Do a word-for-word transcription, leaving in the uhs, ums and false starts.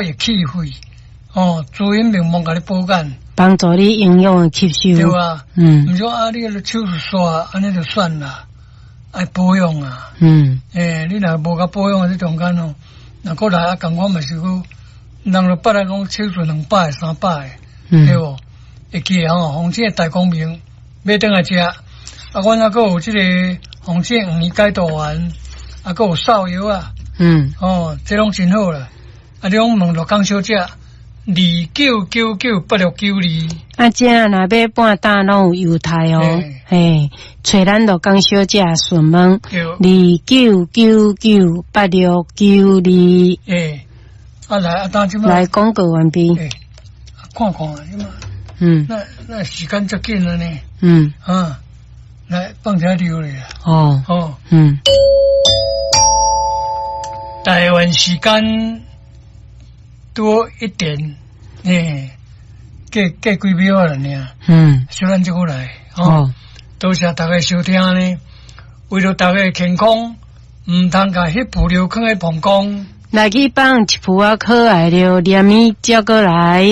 益氣血，哦，滋陰明目，共你補肝，幫助你營養的吸收。對啊，嗯，毋是講啊，你個手術煞按呢就算啦，愛保養啊。嗯，欸，你若無共保養，這中間哦，若閣來啊，仝款嘛是閣，人就捌來講手術兩擺、三擺，嗯，對無？會記得吼，紅星大光明買轉來食，啊，阮猶閣有這個紅星黃解毒丸，啊，閣有瘦藥啊，嗯，哦，這攏真好啦。啊，你攏問鹿港小姐，二九九九八六九二。啊，這若買半擔攏有優待哦，嘿，揣咱鹿港小姐詢問，二九九九八六九二。欸，啊來，啊當這擺來廣告完畢。欸，看看啊，這擺。嗯。那那時間遮緊了呢。嗯。啊，來放這溜咧。哦。哦。嗯。台灣時間多一點，欸，過過幾秒了呢。嗯。小咱這個來，哦。多謝大家收聽呢。為著大家的健康，毋通共彼浮尿囥佇膀胱。來去放一浮仔可愛著連物接過來。